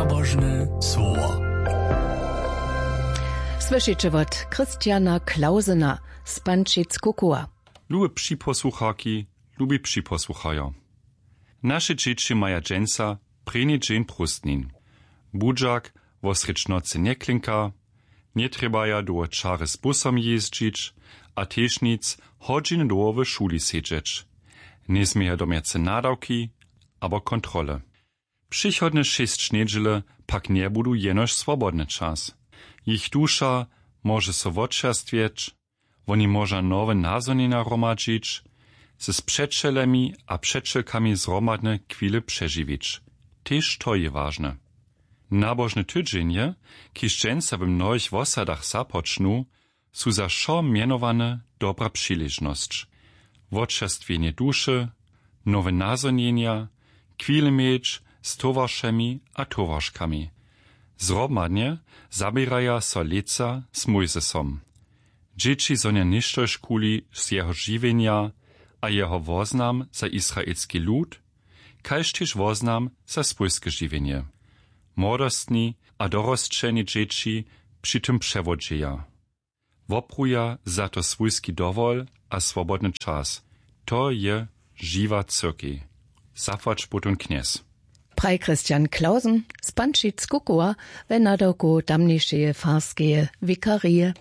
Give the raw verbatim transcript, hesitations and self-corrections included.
Božne słowo. Słyšeće wot Christiana Klausena z Pančic Kukowa. Lube připosłucharki, lubi připosłucharjo. Naše dźěći maja dźensa prěni dźeń prózdnin. Budźak wosrjedź nocy njeklinka, njetrjebaja dołho čary z busom jězdźić a tež nic hodźiny dołho w šuli sedźeć. Njezměja domjace nadawki abo kontrole. Přichodne šěsć njedźele pak njebudu jenož swobodny čas. Jich duša móže so wočerstwjeć, woni móža nowe nazhonjenja hromadźić, z přećelemi a přećelkami zhromadne chwile přežiwić. Tež to je wažne. Nabožne tydźenje, kiž dźensa w mnohich wosadach započnu, su za wšo mjenowane dobra přiležnosć. Wočerstwjenje duše, nowe nazhonjenja, chwile měć z towaršemi a towarškami. Zhromadnje zaběraja so lětsa z mójzesom. Dźěći zhonja něštožkuli z jeho žiwjenja a jeho woznam za israelski lud, kaž tež woznam za swójske žiwjenje. Młodostni a dorosćeni dźěći při tym přewodźeja. Wopruja za to swójski dowol a swobodny čas. To je žiwa cyrkej. Zapłać potom knjez. Praj christian klausen z pančic kukowa we nadawku tamnjejšeje farskeje wikarije.